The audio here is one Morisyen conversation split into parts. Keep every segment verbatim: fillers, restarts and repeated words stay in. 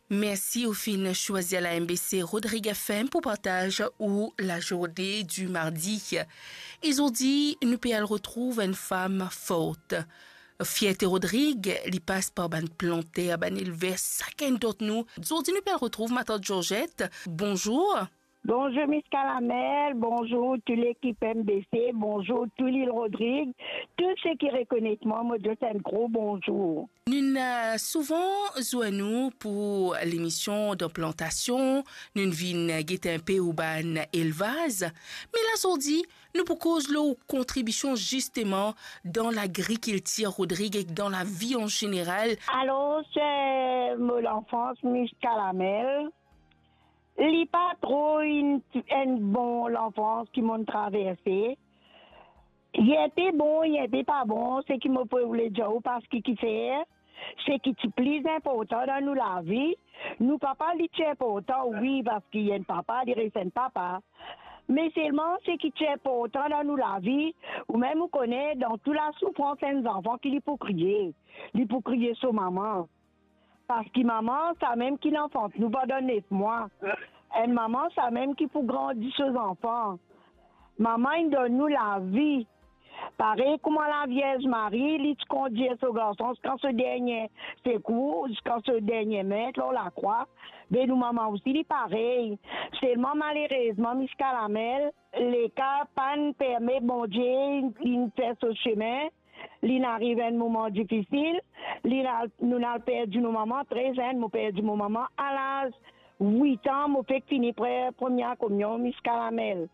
Mersi ou finn swazir la M B C Rodrig F M pou partaz ou lazourne di mardi. E zordi, nou pe al retrouv enn fam for. Fierte Rodrig, li pas par bann planter, bann elver, sakenn dan nou. Zordi, nou pe al retrouv matant Georgette. Bonzour. Bonzour Miss Calamel, bonzour tou lekip M B C, bonzour tou Lil Rodrig, tou seki rekonet mwa, mo dir enn gro bonzour. Nou'nn, eh, souvan zwenn ou pou lemision dan plantasion, nou'nn vinn get enpe ou bann elvaz, me la zordi, nou pou koz lor ou kontribision zisteman dan lagrikiltir, Rodrig, ek dan lavi an zeneral. Alor, se mo lanfans, Miss Calamel. Li pa tro enn, enn bon lanfans ki mo'nn traverse. Li enpe bon, li enpe pa bon, seki mo pou oule dir ou, parski kifer, seki ti pli inportan dan nou lavi. Nou papa, li ti inportan, wi, parski enn papa, li res enn papa. Me selman, seki ti inportan dan nou lavi, ou mem ou kone, dan tou lasoufrans, enn zanfan ki li pou kriye. Li pou kriye so mama. Parski mama, samem ki lanfant nou pandan nef mwa. Enn mama, samem ki pou grandi so zanfan. Mama inn donn nou lavi. Parey kouma Lavierz Mari, li ti kondir so garson ziska so dernie sekour, ziska so dernie met lor lakrwa, be nou mama osi, li parey. Selman, malerezman, Miss Calamel, leka pa'nn permet Bondie inn fer so sime, li'nn ariv enn moman difisil, li'nn al, nou'nn al perdi nou mama tre zenn. Mo perdi mo mama a laz wit an, mo fek fini pre-, premie kominyon, Miss Calamel.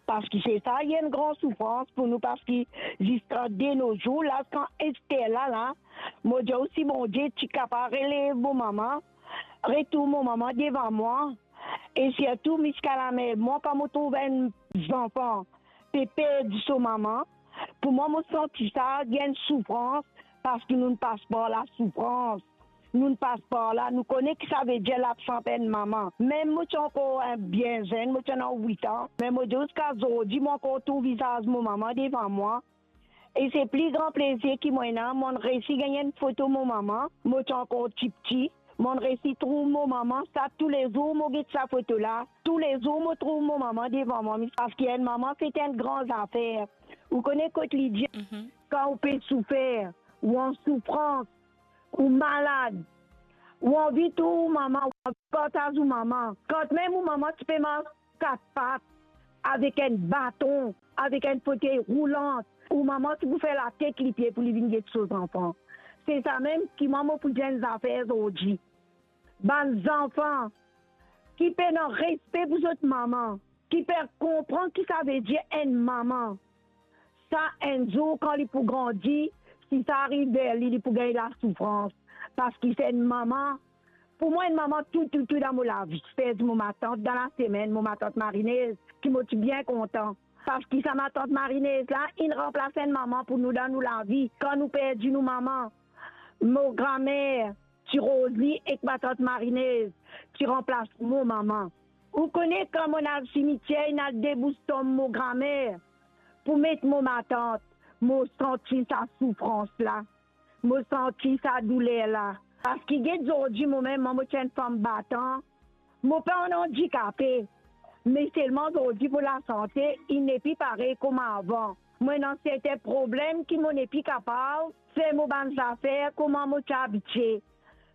Parski se sa, li enn gran soufrans pou nou, parski ziska de no zour, la, ziska ester la, la, mo dir ou, si Bondie ti kapav relev mo mama, retourn mo mama devan mwa, e sirtou, Miss Calamel, mwa, kan mo trouv enn zanfan pe perdi so mama, pou mwa, mo santi sa, li enn soufrans, parski nou'nn pas par lasoufrans. Nou'nn pas par la, nou kone ki savedir labsans enn mama. Mem mo ti ankor enn bien zenn, mo ti ena wit an, me mo dir ziska zordi, mo ankor trouv vizaz mo mama devan mwa. E se pli gran plezir ki mo ena, mo'nn resi gagn enn foto mo mama, mo ti ankor tipti, mo'nn resi trouv mo mama, sa toulezour mo get sa foto la, toulezour mo trouv mo mama devan mwa, parski enn mama se enn gran zafer. Ou kone kot li dir, mhm, kan ou pe soufer, ou an soufrans, ou malad, ou anvi trouv ou mama, ou anvi partaz ou mama. Kanmem ou mama ti pe mars kat pat, avek enn baton, avek enn fotey roulant, ou mama ti pou fer latet lipie pou li vinn get so zanfan. Se samem ki mwa mo pou dir enn zafer zordi. Bann zanfan ki pena respe pou zot mama, ki pena konpran ki savedir enn mama, sa enn zour kan li pou grandi, si sa ariv ver li, li pou gagn lasoufrans. Parski se enn mama, pou mwa, enn mama tou, tou, tou dan mo lavi. Perdi mo matant dan lasemenn, mo matant Marinez, ki mo ti bien kontan. Parski sa matant Marinez la, inn ranplas enn mama pou nou dan nou lavi. Kan nou perdi nou mama, mo gramer, ti Rozi ek matant Marinez, ti ranplas mo mama. Ou kone, kan mo'nn al simitier, inn al debous tonm mo gramer pou met mo matant, mo santi sa soufrans la, mo santi sa douler la. Parski get zordi, mo mem, mwa, mo ti enn fam batan, mo pa enn andikape, me selman zordi mo lasante, li nepli parey kouma avan. Mo ena sertin problem ki mo nepli kapav fer mo bann zafer kouma mo ti abitie.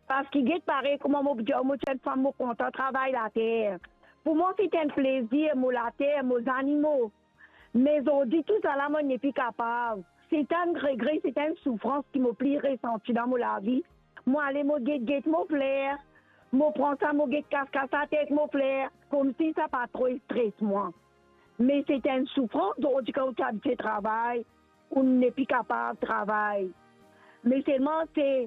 Parski get parey kouma mo dir, mo ti enn fam, mo kontan travay later. Pou mwa, se ti enn plezir, mo later, mo zanimo. Me zordi, tousala, mo nepli kapav. Se ti enn regre, se ti enn soufrans ki mo pli resanti dan mo lavi. Mo ale, mo get, get mo fler. Mo pran sa, mo get kas, kas ater ek mo fler. Koumsi sa pa tro stres mwa. Me se ti enn soufrans, zordi kan ou ti abitie travay, ou nepli kapav travay. Me selman se